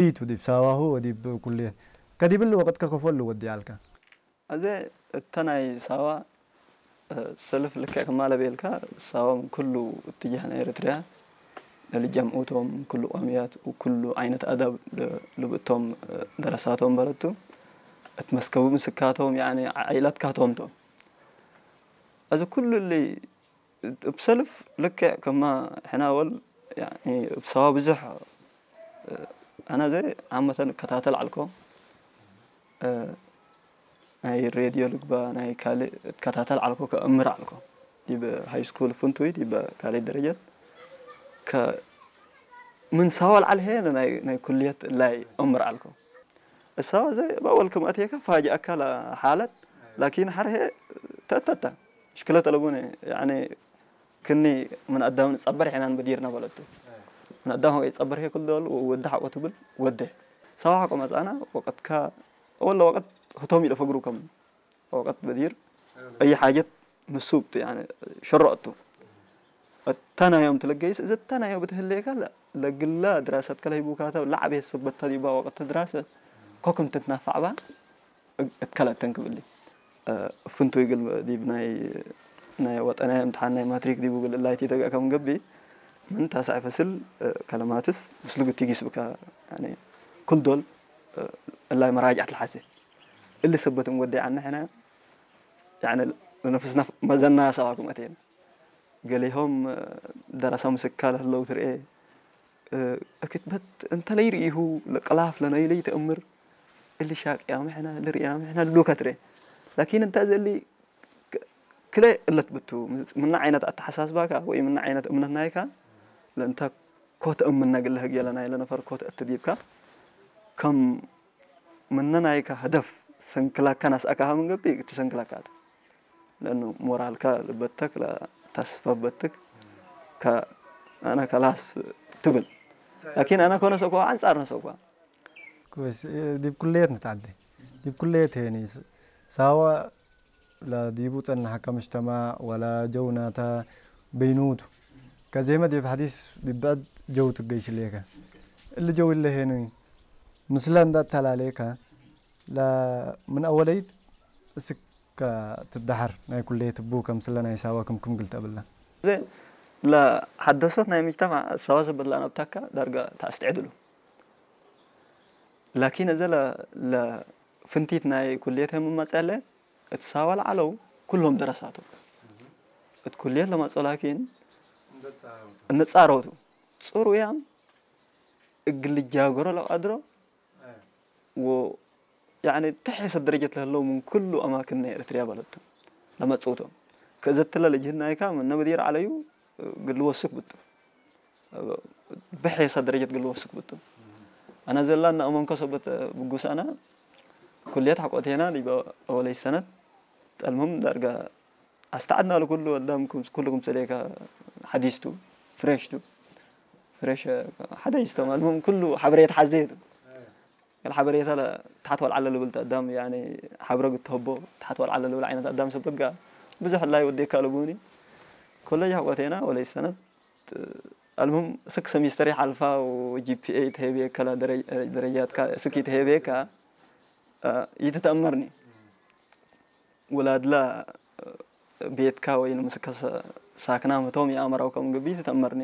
ዲቱ ዲብ ሳዋሁ ወዲብ ኩልየት ከዲብሉ ወቅት ከከፈሉ ወዲ ኣልካ። ኣዘ እተ ናይ ሳዋ ሰልፍ ልክዕ ክማለ ቤልካ ሳዋ ምን ኩሉ እትጃህ ናይ ኤርትርያ ለልጀምኡቶም ኩሉ ቋምያት ኩሉ ዓይነት ኣዳብ ልብእቶም ደረሳቶም በለቱ እት መስከቡ ምስካቶም ያኒ ዓይላትካቶም ቶም ኣዚ ኩሉ እሊ እብ ሰልፍ ልክዕ ከማ ሕና ወል ያኒ እብ ሳዋ ብዙሕ ኣነ ዘ ዓመተን እከታተል ዓልኮ ናይ ሬድዮ ልግባ ናይ ካልእ እከታተል ዓልኮ ከእምር ዓልኮ ዲብ ሃይ ስኩል ፍንቱይ ዲብ ካልእ ደረጀት ከ ምን ሳዋ ልዓል ሄ ናይ ኩልየት ላይ እምር ዓልኮ እሳዋ ዘ ባወል ክም ኣትየካ ፋጅኣካ ሓለት ላኪን ሓር ሄ ተእተታ ሽክለተ ለቡነ ያኒ ክኒ ምን ኣዳም ንጸበር ሒናን በዲርና በለቱ ምን ኣዳም ሆይ ጸበር ሄ ኩል ደል ወደ ሓቆ ትብል ወደ ሳዋ ሓቆ መጻና ወቀትካ ወላ ወቀት ህቶም ኢለ ፈግሩ ከም ወቀት በዲር ኣይ ሓጀት ምሱብት ያኒ ሸሮእቱ እተናዮም ትለገይስ እዚ እተናዮ ብትህለየካ ለግላ ድራሰት ከለሂቡካታ ላዕቤት ስበታ ዲባ ወቀት ድራሰት ኮክም ትትናፋዕባ እትከለተን ክብሊ ፍንቱይ ግል ዲብ ናይ ናይ ወጠናይ እምትሓን ናይ ማትሪክ ዲቡ ግል እላይ ቲተጋ ከም ገቢ ምን ታሳዕ ፈስል ከለማትስ ምስሉ ግቲ ጊስ ብካ ኩል ዶል እላይ መራጅዓት ልሓዘ እሊ ሰበት እንወደይ ዓና ሕና ያኒ ነፍስና መዘና ሰባኩም ኣተና ገሊሆም ደረሳ ምስካ ለህለው ትርኤ ክትበት እንተ ለይርእይሁ ለቀላፍ ለነይለይ ተእምር እሊ ሻቅያ ምሕና ልርእያ ምሕና ልብሉካ ትርኤ ላኪን እንተ ዘሊ ክለ እለት ብቱ ምና ዓይነት ኣተሓሳስባካ ወይ ምና ዓይነት እምነት ናይካ ለእንተ ኮተ እምና ግለ ህግ የለ ናይ ለነፈር ኮተ እትዲብካ ከም ምነ ናይካ ህደፍ ሰንክላካ ናስኣካሃ ምንገቢ ትሰንክላካ ለእኑ ሞራልካ ልበተክ ተስፋ በትክ ኣነ ከላስ ትብል ላኪን ኣነ ኮነ ሰኳ ኣንጻር ነሰኳ ዲብ ኩለየት ንትዓደ ዲብ ኩለየት ሄኒ ሳዋ ላ ዲቡ ጸናሓካ ምጅተማዕ ወላ ጀው ናታ በይኑቱ ከዜመ ዲብ ሓዲስ ዲብ ብዕድ ጀው ትገይሽ ሌከ እሊ ጀው እለ ሄኒ ምስለ እንዳ ተላለየካ ላ ምን ኣወለይት እስከ ትደሓር ናይ ኩለየት እቡ ከምስለ ናይ ሳዋ ክምክም ግልተ ብላ ላ ሓደሶት ናይ ምጅተማዕ ሳዋ ዘበላ ናብታካ ዳርጋ ተኣስትዕድሉ ላኪን እዘ ፍንቲት ናይ ኩልየት ህምም መጸለ እት ሳዋ ለዓለው ኩሎም ደረሳቱ እት ኩልየት ለመጸ ላኪን እንጻረውቱ ጽሩያም እግል ጃገሮ ለቀድሮ ወ ያኒ ተሐሰ ደረጀት ለህለው ምን ኩሉ ኣማክን ናይ ኤርትርያ ባለቱ ለመጽውቶም ከዘትለ ለጅህናይካ ምነ መዲር ዓለዩ ግል ወስክ ብጡ ብሐየሳ ደረጀት ግል ወስክ ብጡ ኣነ ዘላ እና እመንኮ ሰበት ብጉስ ኣነ ኩልየት ሓቆቴና ዲበ ወለይ ሰነት ጠልምም ዳርጋ ኣስተዓድና ለኩሉ ኣዳም ኩሉ ክምሰሌካ ሓዲስቱ ፍሬሽቱ ፍሬሽ ሓዳይስቶም ኣልምም ኩሉ ሓበሬት ሓዘየቱ ገል ሓበሬታ ታሕት ወልዓለ ልብል ኣዳም ያኒ ሓብረ ግትህቦ ታሕት ወልዓለ ልብል ዓይነት ኣዳም ሰብ በጋ ብዙሕ ላይ ወዴካ ልቡኒ ኮለጅ ሓቆቴና ወለይ ሰነት ኣልምም ስክ ሰሚስተር ይሓልፋ ጂፒኤ ይትሄብየካ ደረጃትካ ስክ ይትሄብየካ ይትተእመርኒ ውላድላ ቤትካ ወይ ንምስከ ሳክና ምቶም የኣመራው ከም ግቢ ትተእመርኒ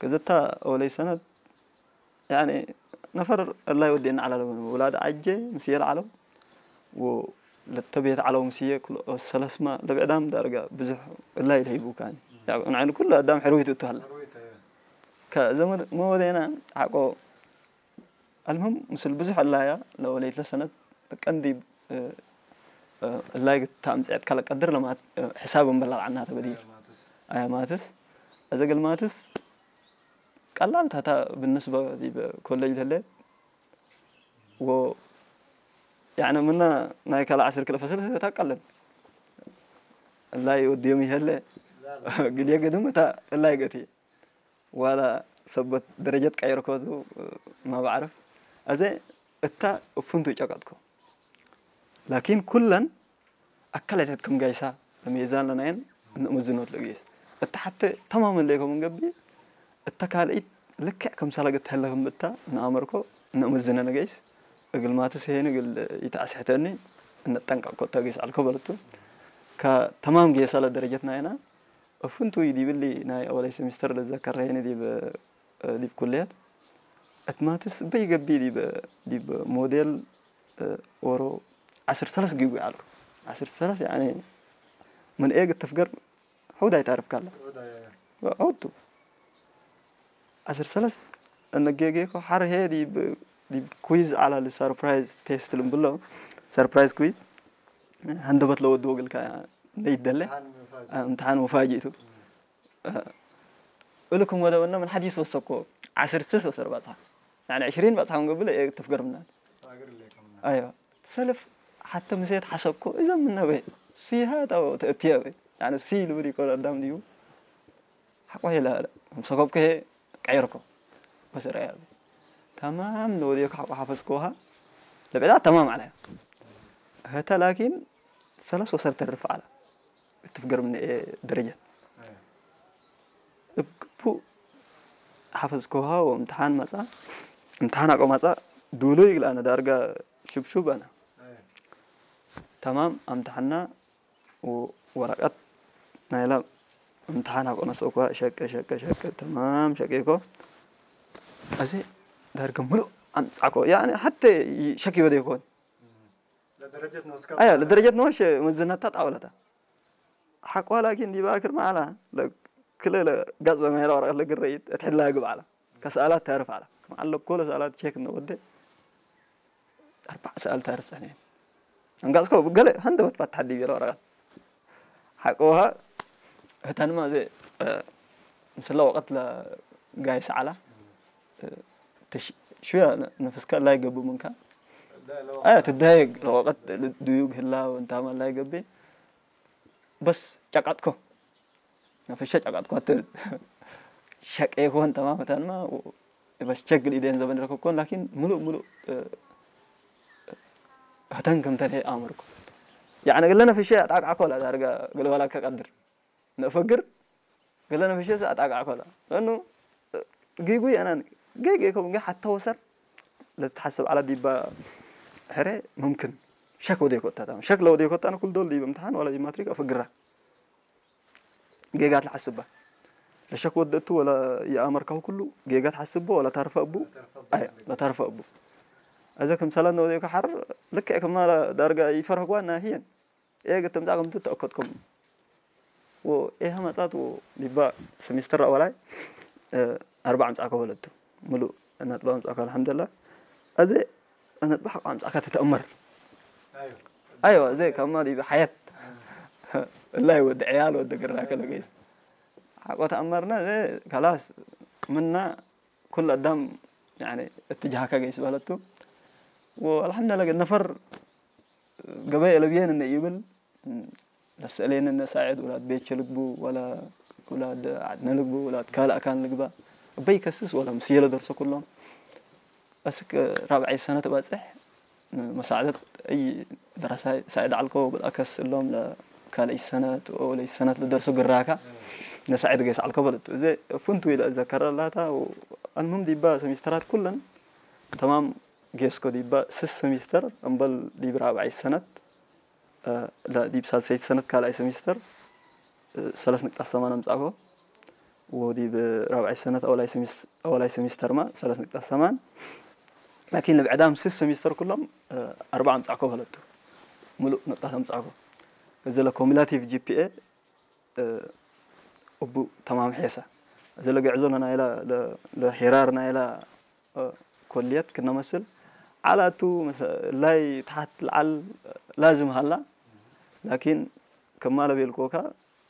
ክዝታ ወለይ ሰነት ያኒ ነፈር እላይ ወዴና ዓላለ ውላድ ዓጀ ምስየ ለዓለው ለተቤት ዓለው ምስየ ሰለስማ ለብዕዳም ዳርጋ ብዙሕ እላይ ለሂቡካኒ ንዓይኑ ኩሉ ኣዳም ሕርዊት እትሃላ ከዘመድ መወደና ሓቆ ኣልምም ምስል ብዙሕ እላያ ለወለይት ለሰነት ቀንዲ እላይ ታምፅዕት ካለ ቀድር ለማት ሕሳብ እንበላል ዓና ተበዲር ኣያ ማትስ እዘ ገልማትስ ቀላል ታታ ብንስበ ዲበ ኮሌጅ ተለ ወ ያነ ምና ናይ ካልእ ዓስር ክልተ ፈስል ታቀለን እላይ ወዲዮም ይሄለ ግልየ ገድም እታ እላይ ገቲ ዋላ ሰበት ደረጀት ቀይርኮቱ ማባዕርፍ ኣዘ እታ እፉንቱ ጨቀጥኮ ላኪን ኩለን ኣካላታት ከም ጋይሳ ለሜዛን ለናየን እንእምዝኖት ለግየስ እታ ሓተ ተማመን ለይኮም እንገቢ እታ ካልኢት ልክዕ ከም ሳላገት ተህለ ክምብታ ንኣመርኮ እነእምዝነ ነገይስ እግል ማትስ ሄን እግል ይተዓስሕተኒ እነጠንቀቅ ኮታ ገይስ አልኮ በለቱ። ከተማም ገይሳለ ደረጀትና ኢና። እፍንቱ ይዲብሊ ናይ አወላይ ሴሚስተር ለዘከረ ሄን ዲብ ዲብ ኩልያት እትማትስ በይገቢ ዲብ ዲብ ሞዴል ኦሮ ዓስር ሰለስ ጊጉ አልኩ። ዓስር ሰለስ ያኔ ምን ኤግ ትፍገር ሑድ ኣይታርፍካላ። ሑድ ቱ ዓስር ሰለስ እነጌጌኮ ሓር ሄ ዲብ ዲብ ኩይዝ ዓላል ሰርፕራይዝ ቴስት ልምብሎ። ሰርፕራይዝ ኩይዝ ሃንደበት ለወድዎ ግልካ ለይደለ እምትሓን መፋጅእቱ እልኩም ወደበና ምን ሓዲስ ወሰኮ ዓስር ስስ ወሰር ባጽሓ ያኒ ዕሽሪን ባጽሓ ንገብለ ኤ ትፍገርምና። አይዋ ሰልፍ ሓተ ምሴት ሓሰብኮ እዞም ምነበ ሲሃ ታው ተእትየ በ ያኒ ሲ ልብል ይኮን ኣዳም ድዩ ሓቆ ይላለ ሰኮብከ ቀይርኮ በስረ ያለ ተማም ንወዲዮ ሓቆ ሓፈዝኮሃ ለበዳ ተማም ዓለ። ህተ ላኪን ሰለስ ወሰር ተርፍ ዓላ እትፍገርምኒ ደረጃ እግቡ ሓፈዝኮሃ ወእምትሓን መጻ እምትሓን ኣቆ መጻ ዱሉ ይግላ ነዳርጋ ሽብሹብ ኣና ተማም ኣምትሓና ወረቀት ናይላ እምትሓን ኣቆ ነሰኳ ሸቀ ሸቀ ሸቀ ተማም ሸቄኮ እዚ ዳርጋ ምሉእ ኣምጻዕኮ ያኒ ሓተ ሸክ ይወደ ይኮን ለደረጀት ነወስካ አያ ለደረጀት ነወሽ መዝነታ ጣውለታ ሓቋ ላኪን ዲባ ክር ማዕላ ክለ ጋጽ ለማይላ ወረቀት ለግረይት እትሕላ ግብ ዓላ ከሰኣላት ታርፍ ዓላ ማዓለ ኮለ ሰኣላት ቼክ ነው ወደ ኣርባዕ ሰኣል ታርፍ ጸኔ አንጋጽኮ ገለ ሃንደ ወት ባት ሓዲ ቢሮ ወረቀት ሓቆሃ እተንማ ዘ ምስላ ወቀት ለጋይ ሰዓላ ሽያ ነፍስካ ላይ ገቡ ምንካ አያ ትዳየግ ለወቀት ድዩግ ህላ ወንታማ ላይ ገቤ በስ ጨቃጥኮ ነፈሸ ጨቃጥኮ አትብል ሸቀ ይኮን ተማም እተንማ በስ ቸግል ኢደን ዘበን ረከብኮን ላኪን ሙሉእ ሙሉእ ህተን ከምተን ኣመርኩ ያኒ ገለ ነፈሸ ኣጣቃዕኮ ላ ዳርጋ ገለ ዋላ ከቀድር ነፈግር ገለ ነፈሸ ኣጣቃዕኮ ላ እኑ ጊጉ ያናን ገገ ከም ገ ሓታ ወሰር ለትሓስብ ዓላ ዲባ ሕረ ሙምክን ሸክ ወደ ይኮታ ሸክ ለወደ ይኮታ ኩል ዶል ዲብ እምትሓን ዋላ ዲብ ማትሪክ ኣፈግራ ጌጋት ለሓስባ ለሸክ ወደእቱ ወላ የኣመርካሁ ኩሉ ጌጋት ሓስቦ ወላ ታርፈ እቡ አያ ለታርፈ እቡ እዘ ከም ሰላም ነወደ ከሓር ልክዕ ከማ ዳርጋ ይፈርህጓ ናህየን ኤ ገተምጻ ከም ተተእከትኩም ወ ኤሃ መጻት ወ ዲባ ሰሚስተር ኣወላይ ኣርባ ኣምጻ ከበለቱ ሙሉ ነጥባ ኣምጻ ከበለ الحمد لله እዚ ነጥባ ሓቆ ኣምጻ ከተተእመር አይዋ እዚ ከማ ዲባ ሓያት ላይ ወደ ዕያል ወደ ግራ ከለገይ ሓቆ ተኣመርና እዚ ካላስ ምና ኩሉ ኣዳም يعني اتجاهካ ገይስ በለቱ والحمد لله ነፈር ገበይ ለብየን እነ ይብል ለስእሌን እነ ሳዕድ ውላድ ቤቸ ልግቡ ወላ ውላድ ዓድነ ልግቡ ውላድ ካልእ ኣካን ልግባ እበይ ከስስ ወላ ምስየ ለደርሶ ኩሎም እስክ ራብዓይ ሰነ ተባጽሕ መሳዕደት እይ ደራሳይ ሳዕድ ዓልኮ በልኣከስ እሎም ለካልእይ ሰነት ወለይ ሰነት ለደርሶ ግራካ ነሳዕድ ገይስ ዓልኮ በለቱ እዚ ፍንቱ ኢለ እዘከረ ላታ ኣልሙም ዲባ ሰሚስተራት ኩለን ተማም ጌስኮ ዲባ ስስ ሰሚስተር እምበል ዲብ ራብዓይ ሰነት ዲብ ሳልሰይቲ ሰነት ካልኣይ ሰሚስተር ሰለስ ንቅጣት ሰማን ኣምጻእኮ ወዲብ ራብዓይ ሰነት ኣወላይ ሰሚስተርማ ሰለስ ንቅጣት ሰማን ላኪን ንብዕዳም ስስ ሰሚስተር ኩሎም ኣርባ ኣምጻእኮ በለቱ ሙሉእ ንቅጣት ኣምጻእኮ እዚ ለኮሚላቲቭ ጂፒኤ እቡ ተማም ሔሳ እዚ ለግዕዞ ለናይላ ለሄራር ናይላ ኮልየት ክነመስል ዓላቱ ላይ ተሓት ለዓል ላዝም ሃላ ላኪን ከማለ ቤልኮካ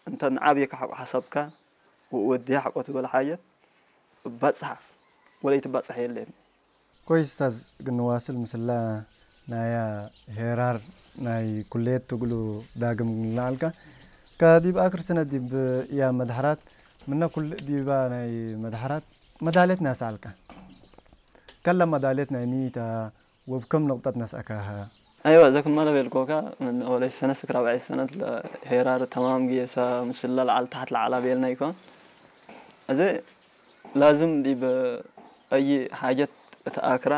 እንተ ንዓብየካ ሓቆ ሓሳብካ ወድያ ሓቆ ትበል ሓጀት ባጽሓ ወለይ ትባጽሕ የለን ኮይ ስታዝ ግንዋስል ምስላ ናያ ሄራር ናይ ኩሌት ትግሉ ዳግም ግንልዓልካ ከዲብ ኣክር ስነ ዲብ እያ መድሓራት ምነ ኩል ዲባ ናይ መድሓራት መዳሌት ናስኣልካ ከላ መዳሌት ናይ ሚታ ወብከም ነቁጣት ናስኣካሃ ኣይዋ እዛ ክማለ ቤልኮካ ምን ወለሽ ሰነት ክራብዐይ ሰነት ሄራር ተማም ጌሳ ምስላ ለዓል ታሕት ለዓላ ቤልና ይኮን እዚ ላዝም ዲብ ኣይ ሓጀት እታ ኣክራ